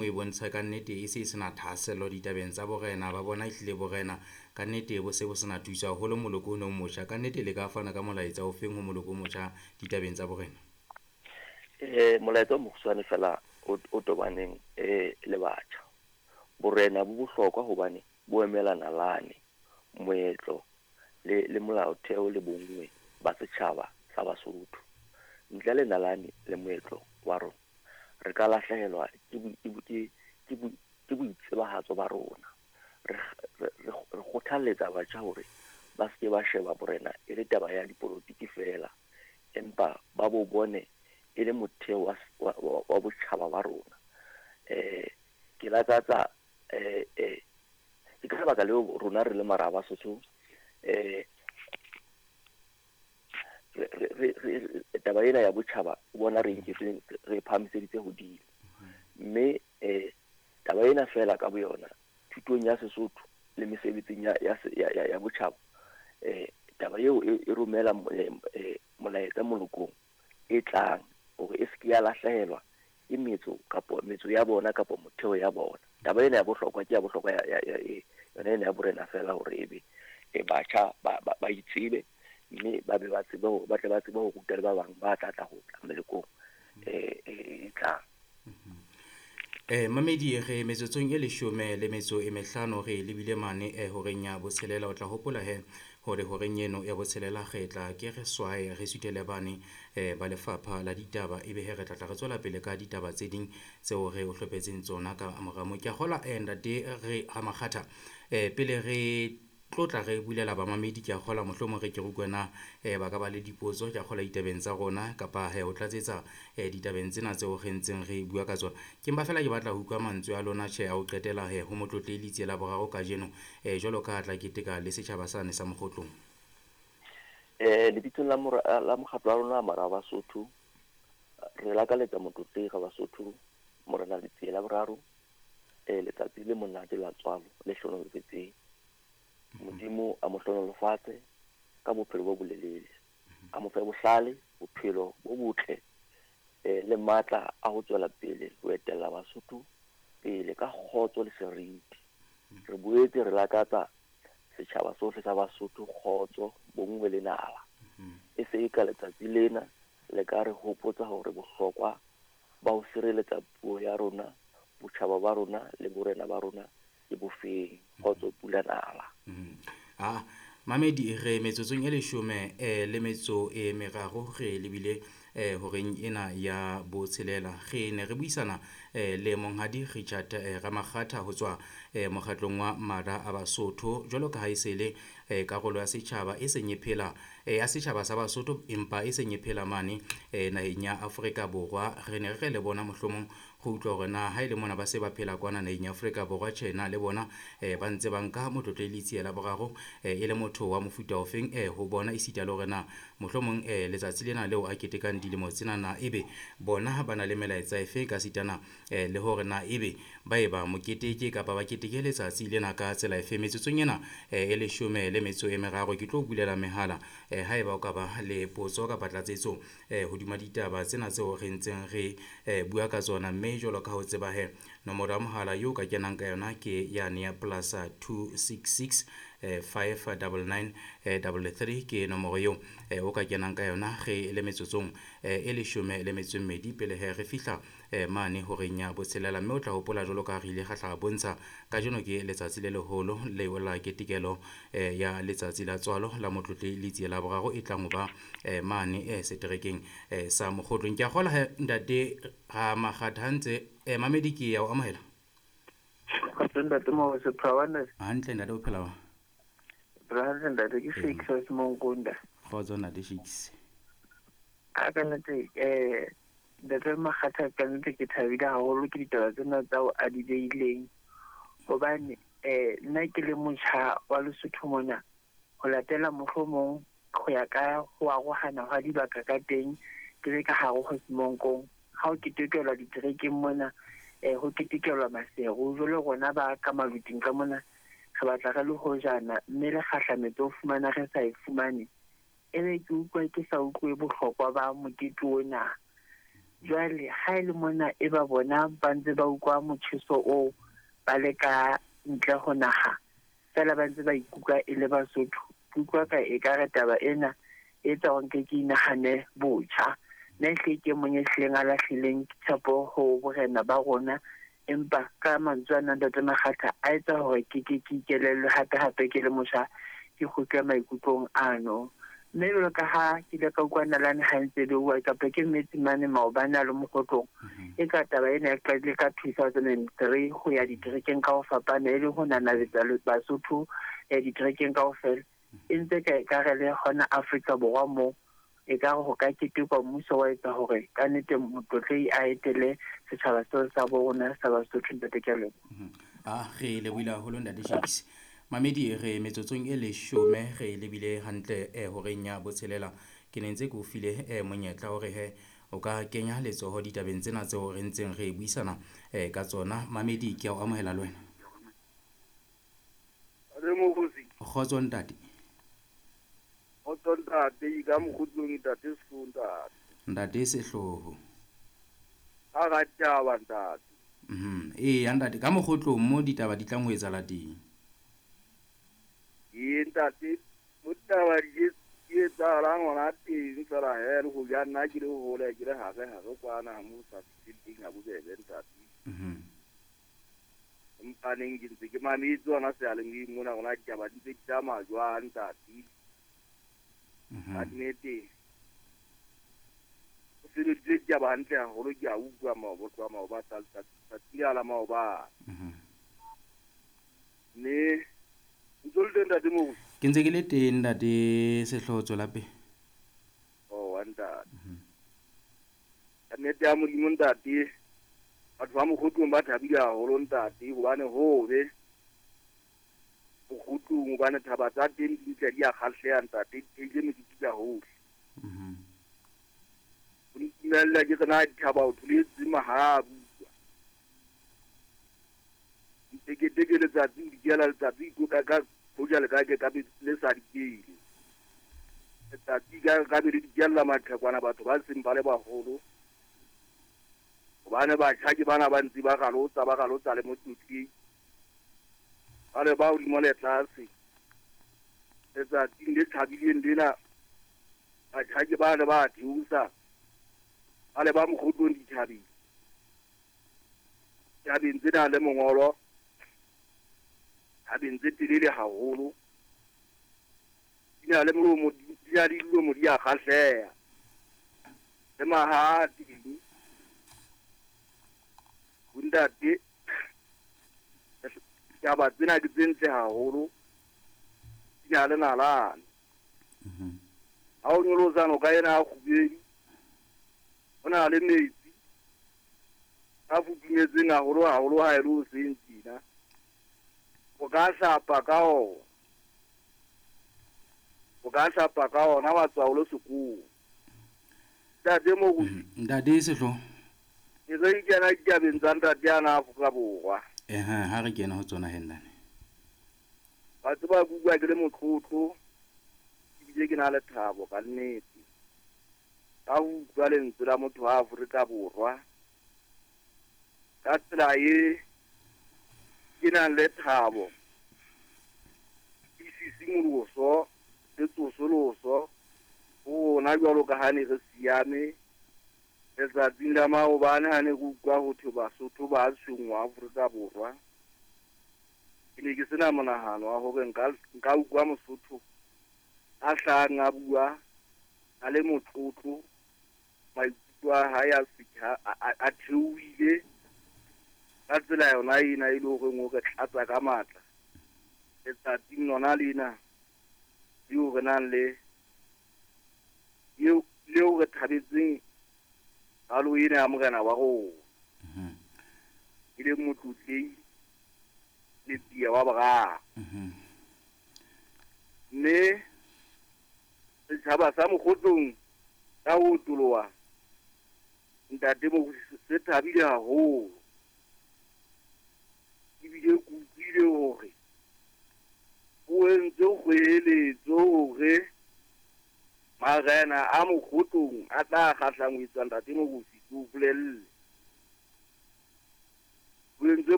E bontsha kannete e se e sena thahasello ditabeng tsa borena, ba bona ehlile borena kannete bo se bo sena thuso haholo moloko ono o motjha. Kannete le ka fana ka molaetsa o feng ho moloko o motjha ditabeng tsa borena? Molaetsa o mokgutshwane fela o tobaneng le batjha. Borena bo bohlokwa hobane bo emela nalane, moetlo le molaotheo le bonngwe ba setjhaba sa Basotho. Ntle le nalane le moetlo wa rona, re ka lahlehelwa ke boitsebahatso ba rona. Re kgothalletsa batjha hore ba seke ba sheba borena e le taba ya dipolotiki fela, empa ba bo bone e le motheo wa botjhaba ba rona. Ke lakatsa ke ka lebaka leo rona re le mara a Basotho, re taba ena ya botjhaba o bona re nketse re phahamiseditse hodimo. Mme taba ena fela ka boyona thutong ya Sesotho le mesebetsing ya botjhaba, taba eo e romela molaetsa molokong e tlang hore e seke ya lahlehelwa ke metso kapo metso ya bona kapo motheo ya bona. Taba ena ya bohlokwa ke ya bohlokwa ya yona ena ya borena fela hore ebe batjha ba itsebe mme ba be ba tsebe hore ba tle ba tsebe ho ruta le ba bang ba tla tla ho tla melekong e tlang. Mamedi re metsotsong e 15 re lebile mane horeng ya botshelela. O tla hopola he hore horeng eno ya botshelela re tla ke re swaye re suthele bane ba lefapha la ditaba, ebe he re tla tla re tswela pele ka ditaba tse ding tseo re o hlophetseng tsona ka mora moo. Ke a kgolwa ntate re Ramakgatha, pele re tlotla re bulela bamamedi, ke a kgolwa mohlomong re ke re utlwe na ba ka ba le dipotso, ke a kgolwa ditabeng tsa rona kapa he ho tlatsetsa ditabeng tsena tseo re ntseng re bua ka tsona. Ke mpa fela ke batla ho utlwa mantswe a lona tjhe a ho qetela he ho Motlotlehi Letsie la Boraro kajeno, jwalo ka ha tla keteka le setjhaba sane sa Mokgotlong. Lebitsong la mokgatlo wa rona Mara a Basotho, re lakaletsa Motlotlehi ga Basotho Morena Letsie la Boraro letsatsi le monate la tswalo le hlohonolofetseng. Modimo a mo hlohonolofatse ka bophelo bo bolelele, a mo fe bohlale, bophelo bo botle le matla a ho tswela pele ho etella Basotho pele ka kgotso le seriti. Re boetse re lakatsa setjhaba sohle sa Basotho kgotso, bonngwe le nala. E se e ka letsatsi lena le ka re hopotsa hore bohlokwa ba ho sireletsa puo ya rona, botjhaba ba rona le borena ba rona ke bofeng. Kgotso pula nala. Mamedi re metsotsong e 13 re lebile horeng ena ya botshelela. Re ne re buisana le monghadi Richard Ramakgatha ho tswa mokgatlong wa Mara a Basotho, jwalo ka ha e se le karolo ya setjhaba e seng e phela ya setjhaba sa Basotho empa e seng e phela mane naheng ya Afrika Borwa. Re ne re le bona mohlomong go utlwa hore na ha e le mona ba se ba phela kwana naheng ya Afrika Borwa, tjhe na le bona ba ntse ba nka Motlotlehi Letsie la Boraro e le motho wa mofuta ofeng ho bona, esita le hore na mohlomong letsatsi lena leo a ketekang dilemo tsena na ebe bona ba na le melaetsa efe ka sitana le hore na ebe ba e ba moketeke kapa ba keteke letsatsi lena ka tsela efe. Metsotsong ena e 13 ke tlo bulela mehala haeba o ka ba le potso kapa tlatsetso hodima ditaba tsena tseo re ntseng re bua ka tsona. Mme jwalo ka ho tseba he nomoro ya mohala eo ka kenang ka yona ke yane ya plus 266 599 33 ke nomoro eo o ka kenang ka yona re le metsotsong e 12 pele he re fihla mane horeng ya botshelela. Mme o tla hopola jwalo ka ha re ile ra tla bontsha kajeno ke letsatsi le leholo leo la ketekelo ya letsatsi la tswalo la Motlotlehi Letsie la Boraro e tlang ho ba mane seterekeng sa Mokgotlong. Ke a kgolwa he ntate Ramakgatha ha ntse mamedi ke ya o amohela. Ntate Mabuse, Hantle ntate, o phela wa? Hantle ntate, ke Shakes wa Semonkunda. Kgotso ntate Shakes. A ka nnete ntate Makgatha, ka nnete ke thabile haholo ke ditaba tsena tsa o a di beileng, hobane nna ke le motjha wa Lesotho mona, ho latela mohlomong ho ya ka ho arohana hwa dibaka ka teng, ke le ka hare ho Semonkong. Ha ho ketekelwa diterekeng mona, ho ketekelwa Maseru, jwale rona ba ka maluting ka mona re batla re le hojana, mme le kgahlametso ho fumana re sa e fumane. Ebe ke utlwa ke sa utlwe bohlokwa ba mokete ona. Jwale ha e le mona e ba bona ba ntse ba utlwa motjheso oo ba le ka ntle ho naha, fela ba ntse ba ikutlwa e le Basotho. Ke utlwa ka ekare taba ena e etsa hore nke ke inahane botjha. Nna ehlile ke e mong e hlileng a lahlileng tshepo ho borena ba rona, empa ka mantswe ana Ntate Makgatha a etsa hore ke ke ke ikelellwe hape hape ke le motjha, ke kgutle maikutlong ano. Mme jwalo ka ha ke ile ka utlwa nalane ha ntse beuwa kapa ke metsi mane maobane a le Mokgotlong, e ka taba ena e qadile ka 2003 ho ya diterekeng ka ho fapana, e le ho nanabetsa Basotho diterekeng kaofela. E ntse ka ekare le hona Afrika Borwa moo ekare ho ka ketekwa, mmuso wa etsa hore kannete motlotlehi a etele setjhaba seo sa bo rona sa Basotho. Ntate, ke a leboha. A re lebohile haholo, Ntate Shakes. Mamedi, re metsotsong e 10 re lebile hantle horeng ya 6. Ke ne ntse ke o file monyetla hore he o ka kenya letsoho ditabeng tsena tseo re ntseng re buisana ka tsona. Mamedi, ke a o amohela le wena. Re Mogosi. Kgotso ntate. Kgotso ntate, ka mokgotlong ntate Sehloho ntate. Ntate Sehloho. Ha ra taba ntate. Eya ntate, ka mokgotlong mo ditaba di tlang ho etsahala teng. Ee ntate, mo ditaba di etsahalang hona teng fela he, le ho ja nna ke le hole ke le hare hare kwana mo sa fihleng teng ha bobebe ntate. Empa neng ke ntse ke mametse hona seyalemoyeng mona rona ditaba di ntse di tsamaya jwang ntate. Ka nnete o sebeditse ditaba hantle haholo, ke a utlwa maoba maoba tsatsi la maobane. Mme ntse o le teng ntate Moruti? Ke ntse ke le teng ntate Sehloho, tswela pele. Oh, ntate. Ka nnete ya Modimo ntate, batho ba Mokgotlong ba thabile haholo ntate, hobane hobe Mokgotlong, hobane thaba tsa teng di ntle di a kgahleha ntate, di theile meriti ka hohle. O ntumella ke re na dithaba o tholetse mahabu. Nteketeke letsatsi o dikela letsatsi ikoka ka hoja le ka ke ka be le sa dikele. Letsatsi ka be le dikella maqhekwana batho ba seng ba le baholo. Hobane batjha ke bana ba ntse ba ralotsa le motlotleng. Ba le ba hodimo le tlase. Letsatsing le thabileng lena, batjha ke bana ba theosa. Ba le ba Mokgotlong dithabeng. Thabeng tsena le mongolo, thabeng tse telele haholo. Di na le molomo, di na le dilomo di a kgahleha. Le maha teng. Ntate, taba tsena ke tse ntle haholo, di na le nalane. Ha o nyolosa noka ena ya Kgubedi, ho na le metsi a futhumetseng haholo haholo ha e le hoseng tjena. O ka hlapa ka ona. O ka hlapa ka ona wa tswa o le sekolo. Ntate Moruti. Ntate Sehloho. Ke re kena ditabeng tsa ntate ana Afrika Borwa. Ha re kena ho tsona he ntate. Ba tseba ke utlwa ke le motlotlo, ebile ke na le thabo ka nnete. Ka ho utlwa lentswe la motho wa Afrika Borwa. Ka tsela e ke nang le thabo, ke sisimoloso le tsosoloso ho rona jwalo ka ha ne re siame letsatsing la maobane ha ne re utlwa ho thwe Basotho ba tshwenngwa Afrika Borwa. Ke ne ke sena monahano wa hore nka utlwa Mosotho a hlahang a bua a le motlotlo, maikutlo a hae a theohile ka tsela yona ena e le horeng o re tlatsa ka matla letsatsing lona lena leo re nang le leo re thabetseng qalo ena ya morena wa rona, e leng motlotlehi Letsie wa boraro. Mme setjhaba sa Mokgotlong ka ho otoloha ntate Moruti se thabile haholo. Ebile ke utlwile hore o entse kgoeletso hore marena a Mokgotlong a tla kgahlangwetswa ntate Moruti Ke o bolelle. O entse.